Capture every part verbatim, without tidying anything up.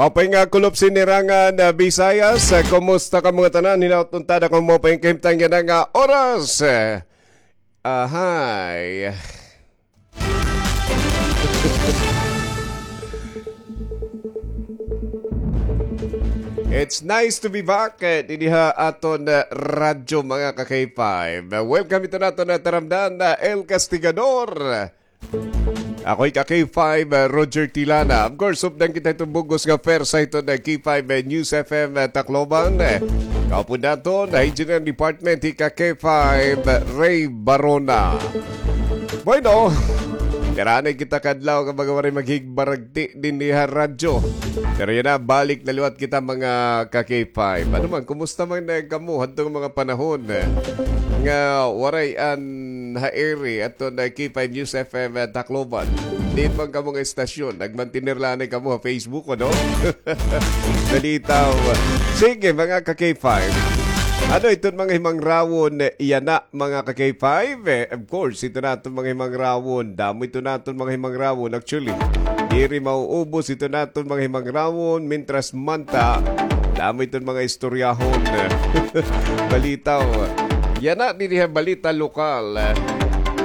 Maupay nga kulop sinirangan, ah, Visayas. Ah, kumusta kamo ngatanan? Hinaot unta nga maupay nga kahimtang yana nga oras. Ah, ahay. It's nice to be back, eh, dinhi ha aton, eh, radyo, mga ka-K five. Welcome ito naton, eh, taramdan, eh, El Castigador. Ako hi ka-K five, eh, Roger Tilana. Of course, updan kita iton bug-os nga pwersa iton, eh, K five, eh, News F M, eh, Tacloban. Eh, kaupod naton, eh, Engineering Department, hi ka-K five, eh, Ray Barona. Bueno, diri na kita kadlaw nga mga waray maghigbaragti dinhi ha radyo. Pero yana, balik na liwat kita, mga ka-K five. Ano man, kumusta man, eh, kamo hadto nga mga panahon, eh, nga waray an ha ere aton, eh, K five News F M, eh, Tacloban? Diin man kamo nga estasyon? Nagmantener la anay kamo ha Facebook, ano? Balitaw. Sige, mga ka-K five. Ano iton mga himangrawon, eh, yana, mga ka-K five? Eh, of course, ito naton mga himangrawon. Damo ito naton mga himangrawon. Actually, diri mauubos ito naton mga himangrawon. Mintras manta, damo iton mga istoryahon. Balitaw. Yana dinhi ha balita lokal.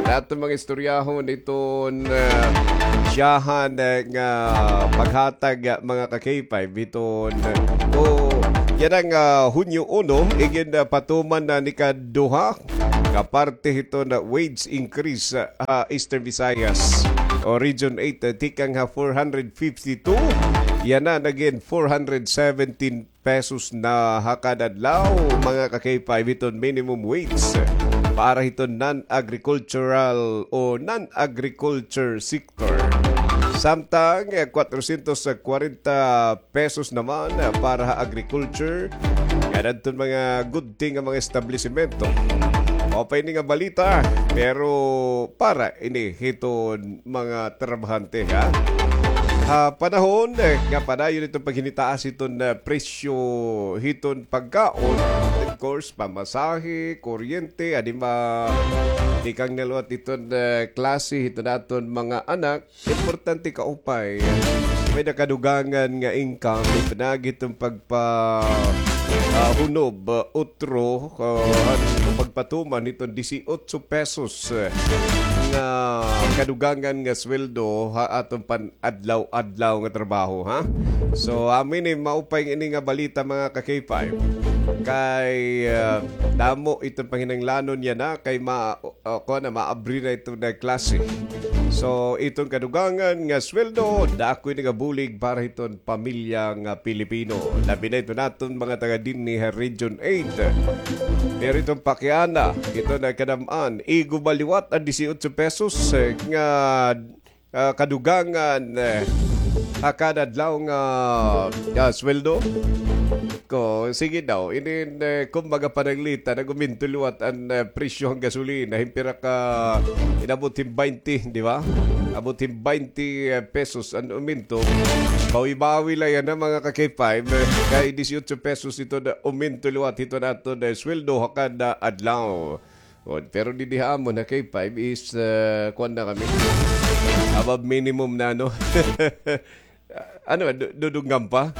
Naton mga istoryahon iton, eh, syahan, eh, nga paghatag, eh, mga ka-K five iton, eh, o yana nga, ah, Hunyo uno, igin, ah, patuman na an ikaduha ka parte hiton, ah, wage increase, ah, ha Eastern Visayas o Region eight, ah, tikang ha four hundred fifty-two, yana nagin four hundred seventeen pesos na ha kada adlaw, mga ka-K five, hiton minimum wage para hiton non-agricultural o non-agriculture sector. Samtang, eh, kwatrosyentos kwarenta pesos naman, eh, para ha agriculture, ngan adton mga gudti nga mga establisimento. Maupay ini nga balita, pero para ini hiton mga trabahante, ha? Ha panahon, eh, nga padayon iton paghinitaas hiton, eh, presyo hiton pagkaon, of course, pamasahe, kuryente, adi ma-, tikang na liwat iton, eh, klase hiton aton mga anak, importante kaupay may-ada kadugangan nga income, pinaagi hiton pagpa-, ah, hunob, ah, utro, ah, pagpatuman hiton disiotso pesos, eh, nga kadugangan nga sweldo ha aton pan-adlaw-adlaw nga trabaho, ha? So, amo ini, maupay ini nga balita, mga ka-K five. Kay, ah, damo iton panginahanglanon yana, kay ma-, ah, kuan na, maabri na iton nga klase. So, iton kadugangan nga sweldo, dako ini nga bulig para hiton pamilya nga Pilipino. Labi na iton aton mga taga dinhi ha Region eight. Pero iton pakiana, iton nga kadam-an, igo ba liwat an disiotso pesos, eh, nga, ah, kadugangan, eh, ha kada adlaw nga, ah, sweldo? Ko, sige daw, inin, eh, kumbaga pananglitan, nag-uminto liwat an, eh, presyo han gasolina, hin pira ka, inabot hin baynte, di ba? Abot hin baynte, eh, pesos an uminto. Bawi-bawi la yana, mga ka-K five, eh, kay disiotso pesos iton uminto liwat hiton aton, eh, sweldo ha kada adlaw. O, pero didi ha amon ha K five is, eh, kuan na kami. Above minimum na, no? Ano, du-, dudunggan pa?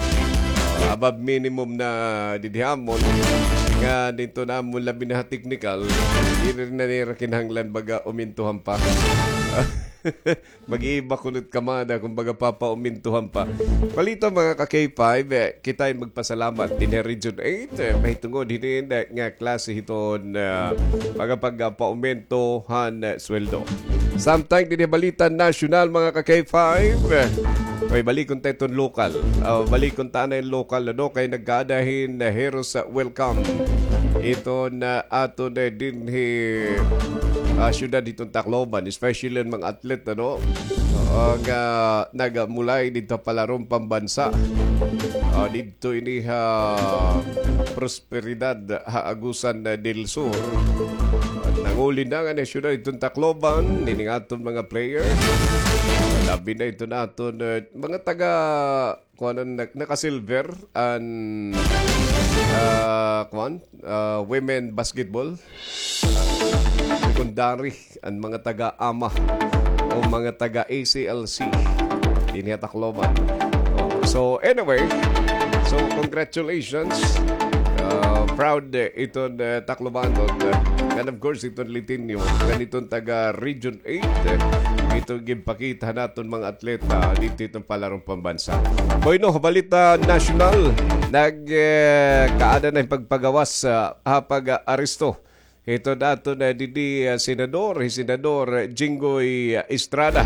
Above minimum na didi ha amon. Nga didto namon labi na ha technical, diri na nira kinahanglan baga umintuhan pa. Mag-iiba kunot kamada kon baga papaumintuhan pa. Balita, mga ka-K five, eh, kita magpasalamat dinhi ha Region eight, eh, mahitungod hinin, eh, nga klase hiton, eh, mga pagpauminto han, eh, sweldo. Samtang dinhi balita nasyonal, mga ka-K five, eh, may balikon ta iton lokal. Ah, balikon ta anay lokal, ano, kay nagkaada hin, eh, heroes, ah, welcome iton, ah, aton, eh, dinhi, ah, syudad hiton Tacloban, especially an mga atlet, ano, ah, nga nagamulay didto ha palaron pambansa. Ah, didto ini ha Prosperidad ha Agusan del Sur. Nanguli na ngani an syudad hiton Tacloban, nining aton mga player. Labi na iton aton, eh, mga taga kuan, naka-silver an, ah, kuan, ah, women basketball. Secondary, an mga taga-ama o mga taga-A C L C dinhi ha Tacloban. O, So anyway, so congratulations. Uh, proud, uh, iton, uh, Taclobanon, uh, and of course iton Litinyo, ngan iton taga Region eight, uh, iton ginpakita naton mga atleta didto iton palaron pambansa. Bueno, balita nasyonal, nag, uh, kaada na hin pagpagawas, uh, ha pag-aresto hiton aton, uh, didi, uh, senador, hi Senador Jinggoy, uh, Estrada.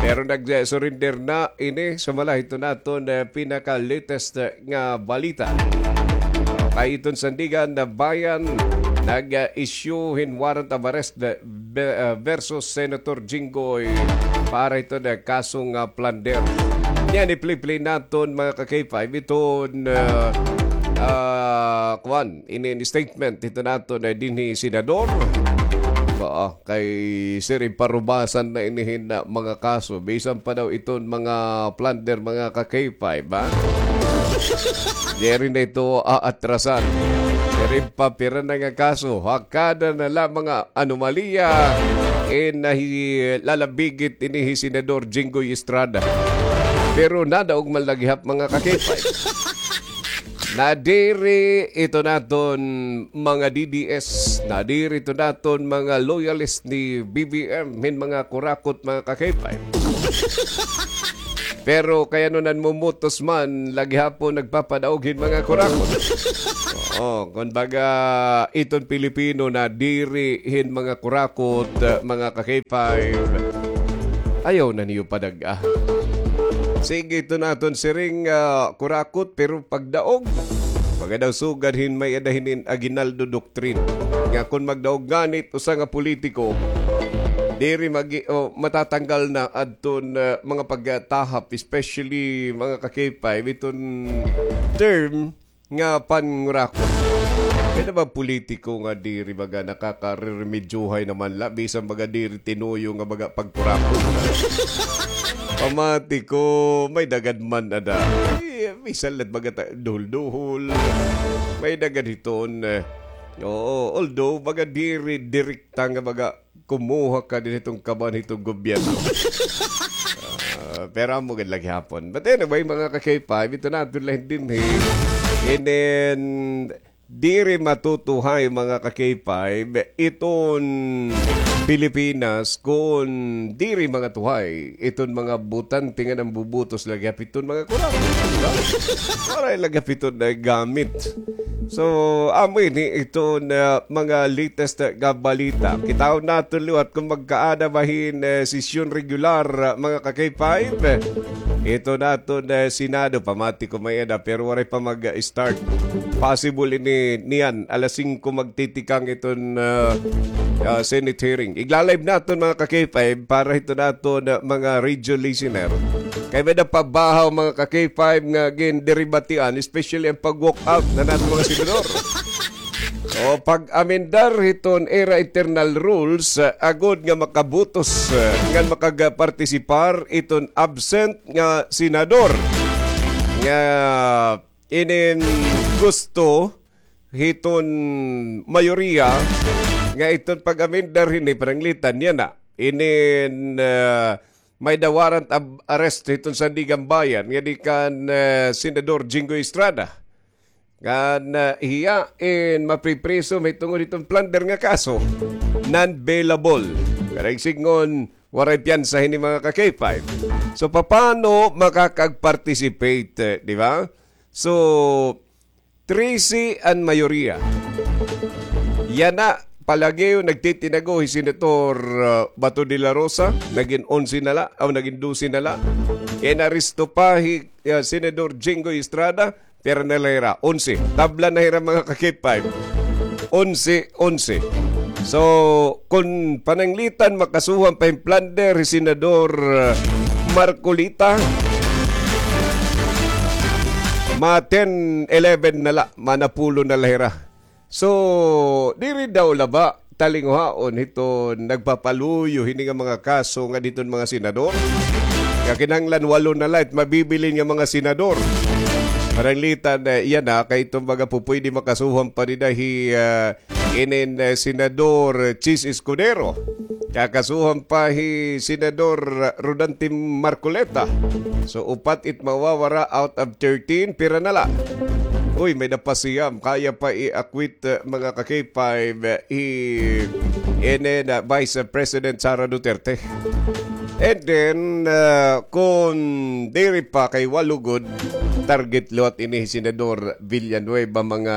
Pero nag-surrender na ini, sumala hiton aton, uh, pinaka-latest, uh, nga balita. Kay iton Sandiganbayan nag-issue hin warrant of arrest, uh, be-, uh, versus Senator Jinggoy para hiton, uh, kaso nga plunder. Niyan, i-play-play naton, mga ka-K five, iton, uh, uh, kuan, ini, ini statement hiton aton, uh, dinhi senador. Oo, kay sir, iparubasan na ini hin, uh, mga kaso. Bisan pa daw iton mga plunder, mga ka-K five, ha? Diri na ito aatrasan. Diri pa pira na nga kaso. Ha kada na la mga anomalya, eh, nahi-, lalabigit ini hi Senador Jinggoy Estrada. Pero nadaog man la gihap, mga ka-K five. Nadiri ito naton mga D D S, nadiri ito naton mga loyalist ni B B M, hin mga kurakot, mga ka-K five. Pero kay ano nanmumutos man, la gihapon nagpapadaog hin mga kurakot. Oo, kumbaga, iton Pilipino nadiri hin mga kurakot, uh, mga ka-K five. Ayaw na niyo padag-a. Sige, ito naton siring, ah, kurakot, pero pagdaog, baga daw sugad hin may-ada hinin aguinaldo doctrine. Nga kon magdaog nganit usa nga politiko, diri magi-, o, matatanggal na adton, ah, mga pagtahap, especially mga ka-K five, iton term nga pangurakot. Kay na ba politiko nga diri baga nakakareremedyohay naman la, bisan baga diri tinuyo nga baga pagkurakot. Pamati ko, may dagad man ada. Eh, bisan la baga ta-, duhol-duhol. May dagad hiton, eh. Oo, although baga diri direkta nga baga kumuha ka din itong kaban itong gobyerno. Ah, pero amo gid la gihapon. But anyway, mga ka-K five, ito na, ito lang din, eh. And then, diri matutuhay, mga ka-K five, iton Pilipinas, kung diri mga tuhay, iton mga butante nga nambubutos la gihap iton mga kurakot. Waray la gihap iton nagamit. So, amo ini iton mga latest nga balita. Kitaon naton liwat kung magkaada ba hin, eh, sesyon regular, ah, mga ka-K five. Ito naton, eh, Senado, pamati ko may-ada, pero waray pa mag-start. Possible ini niyan, alas singko magtitikang iton, ah, ah, Senate hearing. Igla-live naton, mga ka-K five, para ito naton, ah, mga radio listener. Kay may-ada pa bahaw, mga ka-K five, nga ginderebatian, especially an pag-walk out han aton mga senador. O pag-amendar hiton ira internal rules, ah, agod nga makabutos, ah, ngan makagapartisipar iton absent nga senador. Nga inin gusto hiton mayoriya nga iton pag-amendar hini pananglitan niyan na. Inin, ah, may-ada warrant of arrest hiton Sandiganbayan nga di kan, ah, Senador Jinggoy Estrada. Ngan, ah, hiya in mapripriso mahitungod hiton plunder nga kaso, non-bailable. Karuyag sidngon, waray piyansa hini mga ka-K five. So, papano makakag-participate, eh, di ba? So, trese an mayoriya. Yana, palagi nagtitinago hi Senator, ah, Bato de la Rosa, nagin onse na la, aw, nagin dose na la. Inaresto pa hi, ah, Senador Jinggoy Estrada, pira na la hira? Onse. Tabla na hira mga ka-K five. Onse, onse. So, kon pananglitan makasuhan pa hin plunder hi Senador, ah, Marcoleta, ma-ten, eleven na la, manapulo na la hira. So, diri daw la ba talinguhaon hiton nagpapaluyo hini nga mga kaso nga diton mga senador? Nga kinahanglan walo na la it mabibilin nga mga senador. Pananglitan, eh, yana, kay iton mga pupuydi makasuhan pa dida hi, ah, inin, eh, Senador Chiz Escudero. Kakasuhan pa hi Senador Rodante Marcoleta. So, upat it mawawara out of thirteen. Pira na la? Uy, may-ada pa siyam. Kaya pa i-acquit, uh, mga ka-K five, uh, hi, inin, uh, Vice President Sara Duterte. And then, uh, kun diri pa kay walo gud, target liwat ini hi Senador Villanueva, mga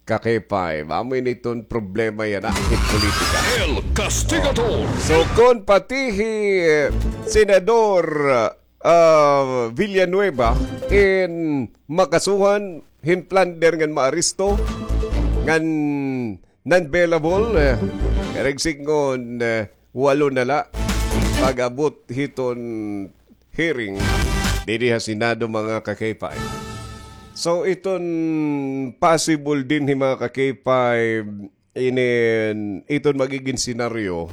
ka-K five. Amo ini iton problema yana, ah, hit politika. El Castigador. So, kun pati hi, eh, Senador, ah, Villanueva in makasuhan hin plunder ngan maaresto ngan non-bailable, eh, karuyag sidngon, eh, walo na la pag-abot hiton hearing didi ha Senado, mga ka-K five. So, iton possible dinhi, mga ka-K five, inin, iton magigin senaryo.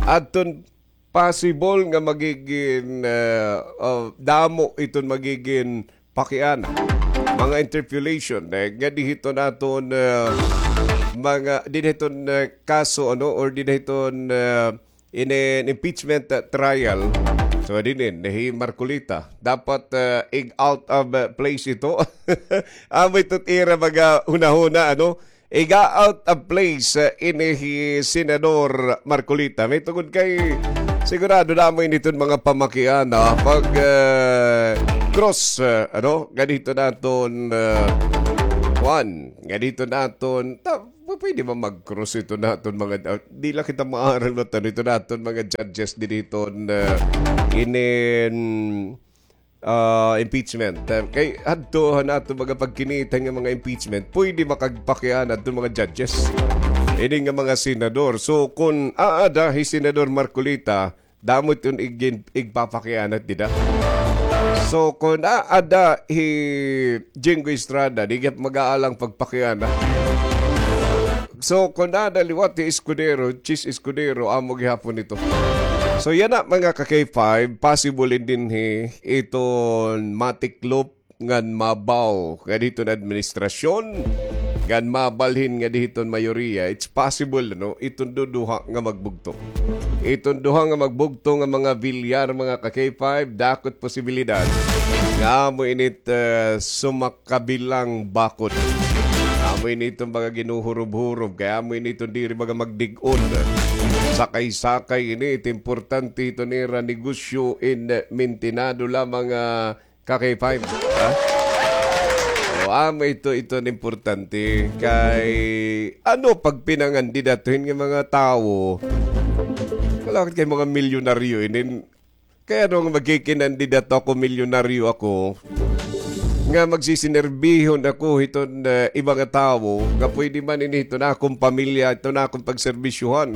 Adton possible nga magigin, eh, oh, damo iton magigin pakiana. Mga interpolation, eh, nga dinhi hiton aton, eh, mga, dinhi hiton, eh, kaso, ano, or dinhi hiton, eh, inin impeachment, uh, trial. So, dinhi, hi Marcoleta. Dapat, uh, ig-out of, uh, place ito. Amo ito it ira mga hunahuna, ano? Iga-out of place, uh, ini hi Senador Marcoleta. May tungod kay sigurado damo ini iton mga pamakiana, ah, pag, uh, cross, uh, ano? Ganito naton, uh, kuan. Ganito naton. Ta-, Pu-, pwede ba mag-cross ito naton mga, ah, di la kita maaram na tan-aw ito naton mga judges dinhi hiton, ah, inin, ah, impeachment. Ah, kay hadto han aton mga pagkinita nga mga impeachment, pwede makagpakiana adto mga judges. Ini nga mga senador. So, kun aada hi Senador Marcoleta, damo iton igin-, igpapakianat dida. So, kun aada hi Jinggoy Estrada, di gihap mag-aalang pagpakiana. So, kun aada liwat hi Escudero, Chiz Escudero, amo gihapon ito. So, yana, mga ka-K five, possible in dinhi iton matiklop ngan mabaw nga dinhi hiton administrasyon, ngan mabalhin nga dinhi hiton mayoriya, it's possible, no? Iton duduha nga magbugto. Iton duha nga magbugto nga mga Villar, mga ka-K five, dako it posibilidad nga amo ini it, eh, sumakabilang bakod. Amo ini iton mga ginuhurob-hurob, kay amo ini iton diri mga magdig-on. Sakay-sakay ini, it importante iton ira negosyo in, eh, mintinado lamang, ah, ka-K five, ha? O, amo ito, ito an importante. Kay, ano, pagpinangandidatuhin nga mga tawo, wala kay mga milyonaryo inin. Kay ano nga magkikinandidato ako, milyonaryo ako, nga magsisinerbihon ako hiton, eh, iba nga tawo, nga pwede man ini hiton akon pamilya, hiton akon pagserbisyuhan.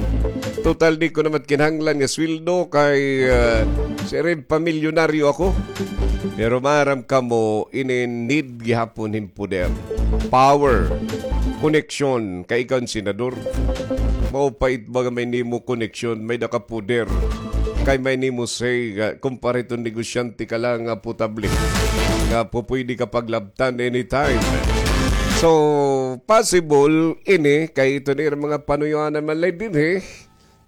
Total, di ko naman kinahanglan nga sweldo kay, ah, siring pamilyonaryo ako. Pero maaram kamo, ini need gihapon hin poder. Power. Koneksyon. Kay ikaw an senador. Mao pa it mga may nimo koneksyon, may-ada ka poder. Kay may nimo say, ah, kumpara hiton negosyante ka la nga potable. Nga pupwede ka paglabtan anytime. So, possible ini, kay ito na ira mga panuyoanan man la dinhi.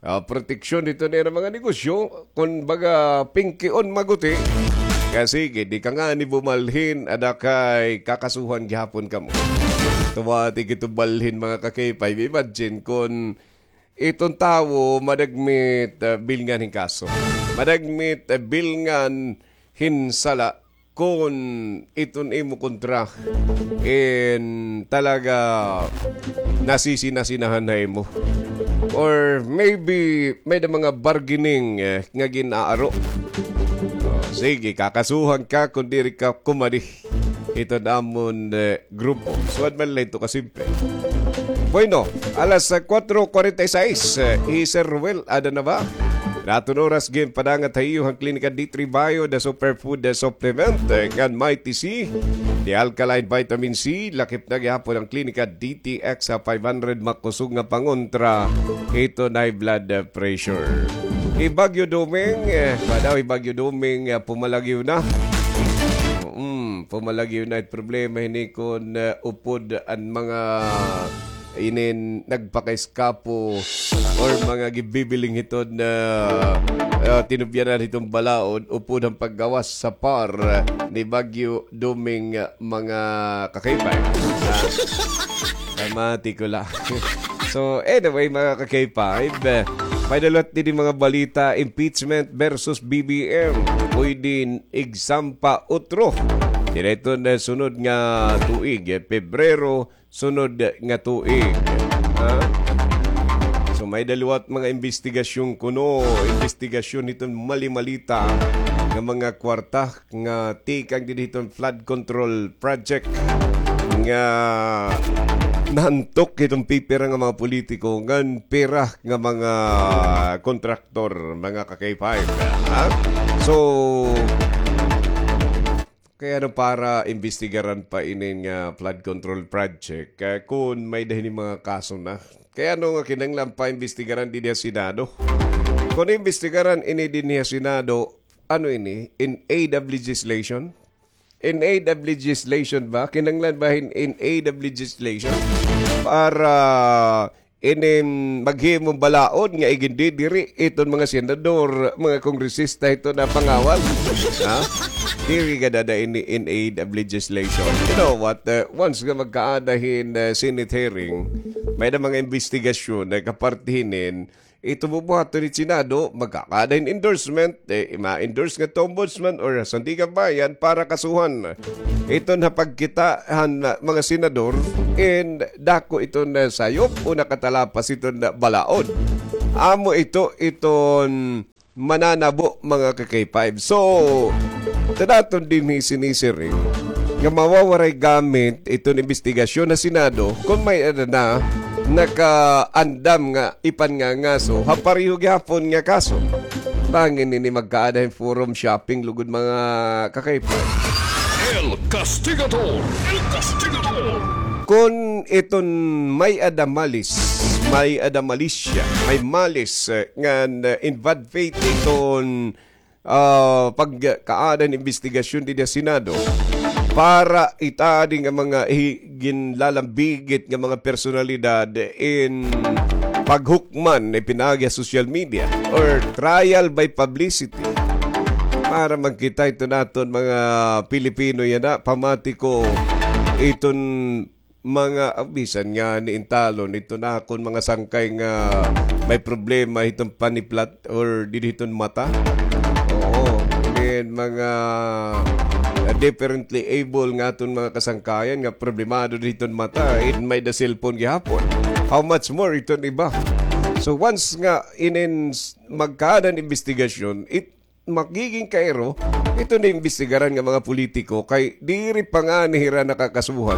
Ah, proteksyon ito na ira mga negosyo, kun baga pingkion maguti. Kaya sige, di ka ngani bumalhin, ada kay kakasuhan gihapon kamo. Tuwa, ti kito balhin, mga ka-K five. Imagine kun iton tawo madagmit, ah, bilngan hin kaso. Madagmit, ah, bilngan hin sala. Kun iton imo kontra in talaga nasisinasinahan na imo. Or maybe may-ada mga bargaining, eh, nga gin-aaro. Oh, sige, kakasuhan ka kun diri ka kumadi. Ito namon, eh, grupo. Suwad man lang ito kasimple. Bueno, alas, ah, kuwatro kuwarenta y sais, eh, hi Sir Ruel, ada na ba? An aton oras ginpadangat ha iyo han Klinika D three Bio, the superfood, the supplement, eh, ngan Mighty C, the alkaline vitamin C, lakip na gihapon an Klinika D T X ha five hundred, makusog nga pangontra hiton high blood, eh, pressure. Hi Bagyo Doming, eh, ba daw hi Bagyo Doming, eh, pumalagyo na. Mm, pumalagyo na it problema hini kun, eh, upod an mga inin nagpakaiskapo or mga gibibiling hiton na, ah, tinubyanan hiton balaod upod han paggawas sa par ni Bagyo Doming, ah, mga kakaypay. Ah, pamati ko la. So, anyway, mga ka-K five, eh, may-ada liwat didi mga balita, impeachment versus B B M. Pwede igsampa utro. Diri iton sunod nga tuig, eh, Pebrero, sunod nga tuig. Ha? So, may-ada liwat mga imbestigasyon kuno, imbestigasyon hiton mali-malita nga mga kwarta nga tikang didi hiton flood control project nga nahantok hiton pipira nga mga politiko ngan pira nga mga kontraktor, mga ka-K five. Ha? So, kay ano para imbestigaran pa inin nga flood control project, ah, kun may-ada hini mga kaso na? Kay ano nga kinahanglan pa imbestigaran dinhi ha Senado? Kun imbestigaran ini dinhi ha Senado, ano ini? In aid of legislation? In aid of legislation ba? Kinahanglan ba hin in aid of legislation? Para inin maghimo balaod nga igindidiri iton mga senador, mga kongresista hiton nga pangawal. Ha? Diri gad ada ini in aid of legislation. You know what? Uh, once nga magkaada hin, uh, Senate hearing, may-ada mga imbestigasyon na kaparte hinin, ito bubuhaton hin Senado, magkakaada hin endorsement, eh, ma-endorse ngadto ombudsman or Sandigan Bayan para kasuhan. Iton ha pagkita han, ah, mga senador, in dako iton, ah, sayop o nakatalapas iton, ah, balaod. Amo ito iton mananabo, mga ka-K five. So, ito naton dinhi sinisiring nga mawawaray gamit iton imbestigasyon ha Senado kun may-ada na nakaandam nga ipangangaso ha pareho gihapon nga kaso. Bangin ini magkaada hin forum shopping lugod, mga ka-K five. El Castigador! El Castigador! Kun iton may-ada malis, may-ada malisya, may malis, eh, ngan, eh, in bad faith iton, ah, pagkaada hin imbestigasyon dinhi ha Senado para itadi nga mga hi-, ginlalambigit nga mga personalidad in paghukman, ipinaagi ha social media or trial by publicity. Para magkita ito naton mga Pilipino yana, pamati ko iton mga, ah, bisan ngani in talon, ito na akon mga sangkay nga may problema hiton paniplat or didi hiton mata. Oo, then mga, ah, differently able nga aton mga kasangkayan nga problemado didi hiton mata, in may-ada cellphone gihapon. How much more iton iba? So once nga inin s-, magkaada hin imbestigasyon, it magiging kairo, ito na imbestigaran nga mga politiko kay diri pa ngani hira nakakasuhan.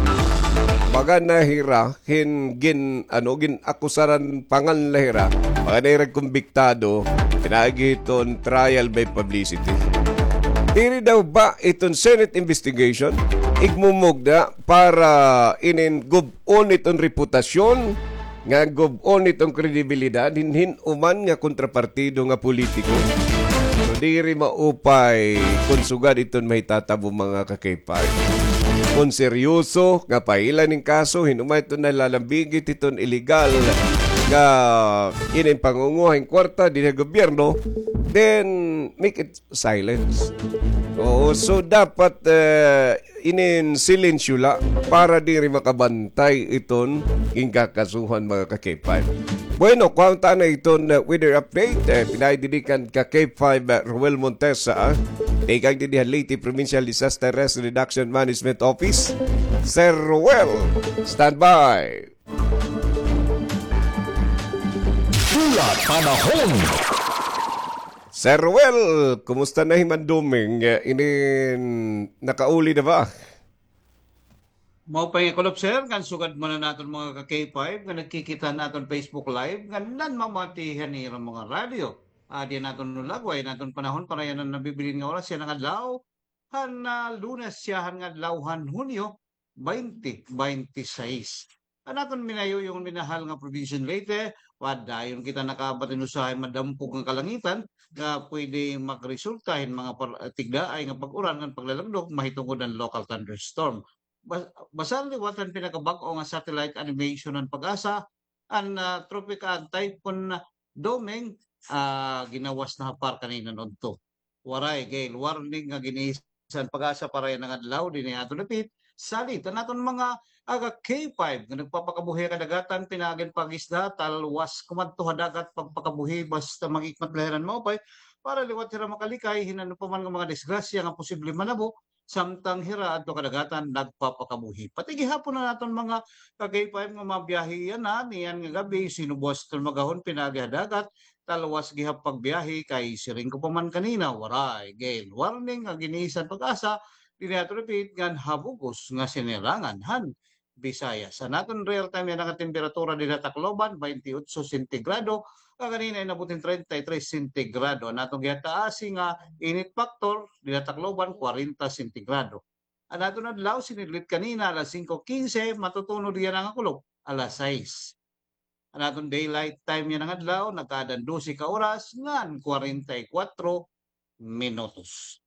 Baga na hira hin gin-, ano, gin-akusaran pa ngani la hira. Baga na hira kumbiktado, pinaagi hiton trial by publicity. Diri daw ba iton Senate investigation igmumugda para inin gub-on iton reputasyon nga gub-on iton kredibilidad hin hin-o man nga kontrapartido nga politiko. So, diri maupay kon sugad iton mahitatabo, mga ka-K five. Kon seryoso nga pahilan hin kaso, hin-o man iton nalalambigit hiton iligal nga inin pangunguha hin kwarta dinhi ha gobyerno, then make it silence. Oo, so dapat, eh, inin silensyo la para diri makabantay iton ginkakasuhan, mga ka-K five. Bueno, kuhaon ta na iton, uh, weather update. Eh, pinaagi didi kan ka-K five, uh, Roel Montesa, ah. Tikang didi ha Leyte Provincial Disaster Risk Reduction Management Office. Sir Roel, standby. Pula Panahon. Sir Roel, kumusta na hi Mandoming? Eh, inin nakauli na ba? Maupay nga kulop, sir, ngan sugad man an aton mga ka-K five nga nagkikita han aton Facebook Live, ngan nanmamati han ira mga radyo. Adi an aton lagway, an aton panahon para yana nabibilin nga oras, yana nga adlaw, han, ah, Lunes, yana nga adlaw han Hunyo, baynte baynte sais. An aton minayuyong minahal nga probinsya han Leyte, padayon kita nakaabot hin usahay madampog nga kalangitan nga pwede magresulta hin mga par-, tigdaay nga pag-uran ngan paglalagdok mahitungod han local thunderstorm. bas-, basta liwat an pinakabag-o nga satellite animation han PAGASA, an, ah, Tropic, an Typhoon Doming, ah, ginawas na ha par kanina udto. Waray gale warning nga gin-iisyu han PAGASA para yana nga adlaw dinhi ha aton dapit. Salit an aton mga aga K five nga nagpapakabuhi ha kadagatan pinaagi han pag-isda, talwas kumadto ha dagat pagpakabuhi basta mag-ikmat la hira hin maupay para liwat hira makalikay hin ano pa man nga mga disgrasya nga posible manabo samtang hira adto kadagatan nagpapakabuhi. Pati gihapon an aton mga ka-K five nga mga biyahe yana, niyan nga gab-i, sinubos iton magahon pinaagi ha dagat, talwas gihap pagbiyahe kay siring ko pa man kanina, waray gale warning nga gin-iisyu han PAGASA dinhi ha aton dapit ngan ha bug-os nga sinirangan han Visayas. An aton real time yana nga temperatura dinhi ha Tacloban, twenty-eight sentigrado, nga kanina inabot hin treinta y tres sentigrado. An aton gihataasi nga init factor dinhi ha Tacloban, kwarenta sentigrado. An aton adlaw, sinidlit kanina alas singko kinse, matutunod yana nga kulop alas sais. An aton daylight time yana nga adlaw, nagkaadan dose ka oras ngan kwarenta y kwatro minutos.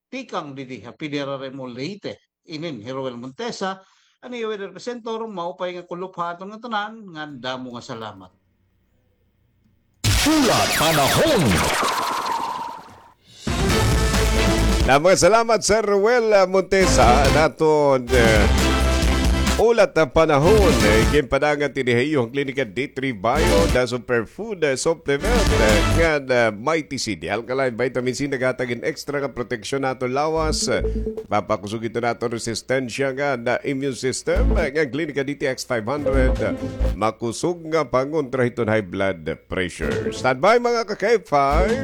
Tikang didi ha P D R R M O Leyte, inin hi Roel Montesa, an iyo weather presenter, maupay nga kulop ha aton ngatanan, ngan damo nga salamat. Hulat panahon. Damo nga salamat, Sir Roel, ah, Montesa, an aton, eh, hulat panahon, eh, ginpadangat dinhi ha iyo han Klinika D three Bio, the superfood, eh, supplement, eh, ngan, eh, Mighty C, the alkaline vitamin C, naghatag hin extra nga proteksyon ha aton lawas, eh, papakusog ito han aton resistensya ngan immune system, eh, ngan Klinika D T X five hundred, eh, makusog nga pangontra hiton high blood pressure. Standby, mga ka-K five.